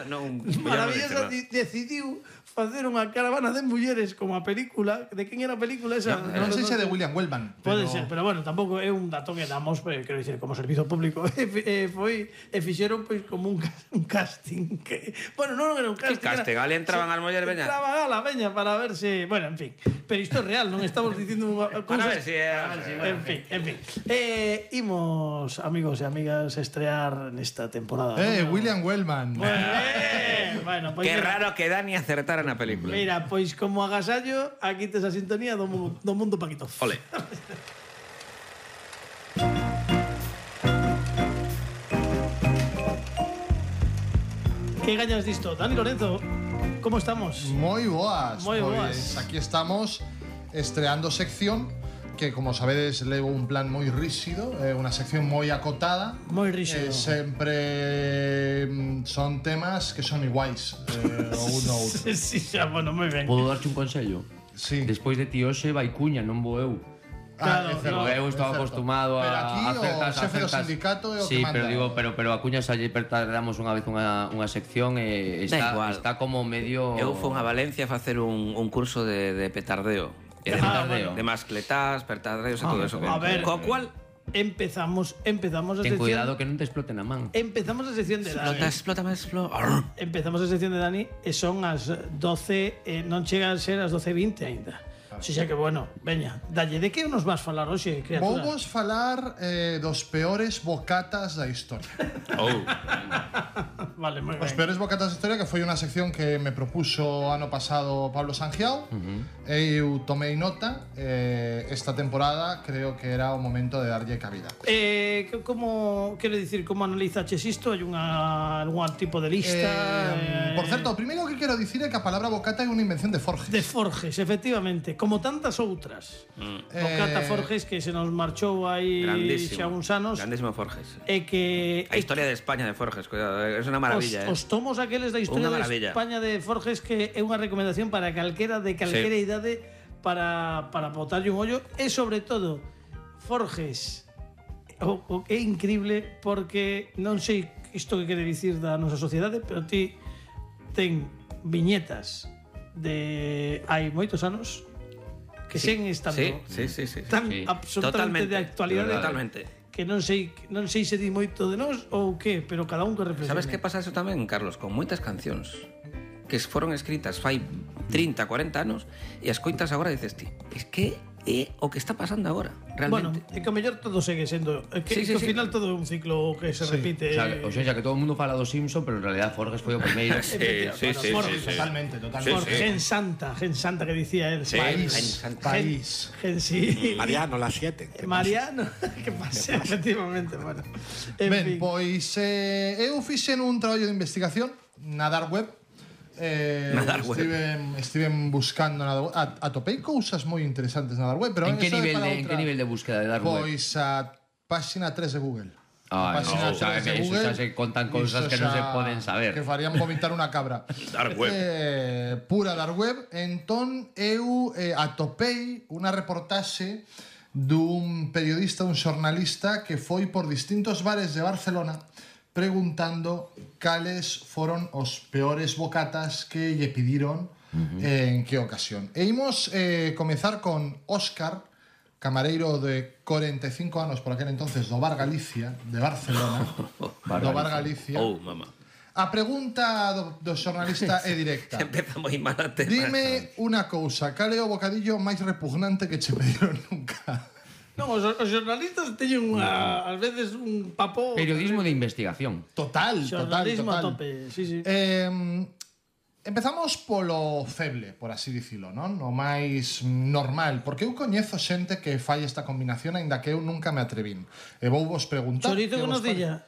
Maravillosa decidiu facer unha caravana de mulleres como a película. De quen era a película esa? Non sei se de William Wellman. Pode ser, pero bueno, tampouco é un dato que damos, quero dicir, como servizo público. Fixeron pois como un casting que, bueno, non era un casting. Que casting, ali entraban as mulleres, veña. Entraban a la veña para ver se, bueno, en fin. Pero isto é real, non estamos dicindo para ver si en fin. Imos, amigos e amigas, estrear nesta temporada. William Wellman. Bueno, qué raro que Dani acertara na película. Mira, pois como agasallo, aquí tes a sintonía do mundo Paquito. Ole. Que gañas disto? Dani Lorenzo, como estamos? Moi boas. Moi boas. Aquí estamos estreando sección que, como sabedes, levo un plan moi rígido, unha sección moi acotada. Moi rígido. Sempre son temas que son iguais, o un ou outro. Sí, xa, bueno, moi ben. Podo darche un consello? Sí. Despois de ti hoxe vai Cuña, non vou eu. Claro, no, eu estaba acostumado pero a aquí acertas, o xefe do sindicato é o sí, que manda. pero digo, pero a Cuña xa lle damos unha vez unha sección e está como medio. Eu fui a Valencia a facer un curso de petardeo. De mascletás, petardeos e todo eso. A ver, co cual empezamos a sección. Ten cuidado que non te exploten a man. Empezamos a sección de Dani. Explota. Empezamos a sección de Dani e son as 12, non chegan a ser as 12:20 aínda. O sea que, bueno, veña, dalle, de que nos vas falar hoxe, criatura? Vamos falar dos peores bocatas da historia. Vale, moi ben. Os peores bocatas da historia, que foi unha sección que me propuso ano pasado Pablo Sangiao. Eu tomei nota. Esta temporada creo que era o momento de darlle cabida. Como, quero dicir, como analizaches isto? Hai algún tipo de lista? Por certo, o primeiro que quero dicir é que a palabra bocata é unha invención de Forges. De Forges, efectivamente, como tantas outras. Bocata Forges que se nos marchou aí xa uns anos. Grandísimo Forges. E que a historia de España de Forges, cuidado, é unha maravilla. Os tomos aqueles da historia de España de Forges que é unha recomendación para calquera de calquera idade para botarlle un ollo e sobre todo Forges é increíble porque non sei isto que quere dicir da nosa sociedade, pero ti ten viñetas de hai moitos anos que sen estando tan absolutamente de actualidade, totalmente. Que non sei se di moito de nós ou que, pero cada un que reflexione. Sabes que pasa eso tamén, Carlos, con moitas cancións que foron escritas fai 30, 40 anos e as coitas agora dices ti, es que é o que está pasando agora, realmente. Bueno, é que o mellor todo segue sendo que ao final todo é un ciclo que se repite. O sea, que todo o mundo fala do Simpson, pero en realidad Forges foi o primeiro. Sí. Totalmente. Gen Santa que dicía él. País. Mariano, las 7. Mariano, que pasa, efectivamente, bueno. Ben, pois eu fixen un traballo de investigación na Dark Web. Estiven buscando na Dark Web. Atopei cousas moi interesantes na Dark Web, pero en que nivel de búsqueda de Dark Web? Pois a páxina 3 de Google. Eso xa se contan cousas que non se poden saber. Que farían vomitar unha cabra. Dark Web. Pura Dark Web. Entón eu atopei unha reportaxe dun periodista, un xornalista que foi por distintos bares de Barcelona preguntando cales foron os peores bocatas que lle pediron en que ocasión. E imos comezar con Óscar, camareiro de 45 anos por aquel entonces do Bar Galicia de Barcelona. Do Bar Galicia. Mamá. A pregunta do xornalista é directa. Empeza moi mal a tema. Dime unha cousa, cal é o bocadillo máis repugnante que che pediron nunca? Non, os xornalistas teñen ás veces un papo. Periodismo de investigación. Total. Xornalismo a tope, sí. Empezamos polo feble, por así dicilo, non? O máis normal, porque eu coñezo xente que fai esta combinación, aínda que eu nunca me atrevín. E vou vos preguntar. Chourizo con nocilla.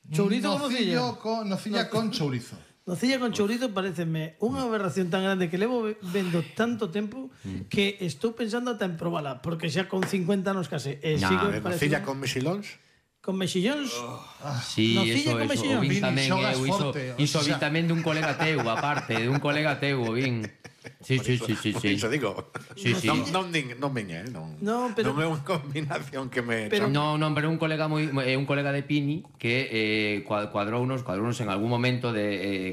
Chourizo con nocilla. Nocilla con chourizo. Nocilla con chourizo pareceme unha aberración tan grande que levo vendo tanto tempo que estou pensando ata en probala, porque xa con 50 anos case nocilla con mexilóns. Con mexillóns? Sí, nocilla con mexillóns. O vin tamén iso vi tamén dun colega teu, aparte, dun colega teu, vin. Sí. Iso digo. Sí. Non miña, non. Non, pero non é unha combinación que me No, pero un colega de Pini que cuadrounos en algún momento de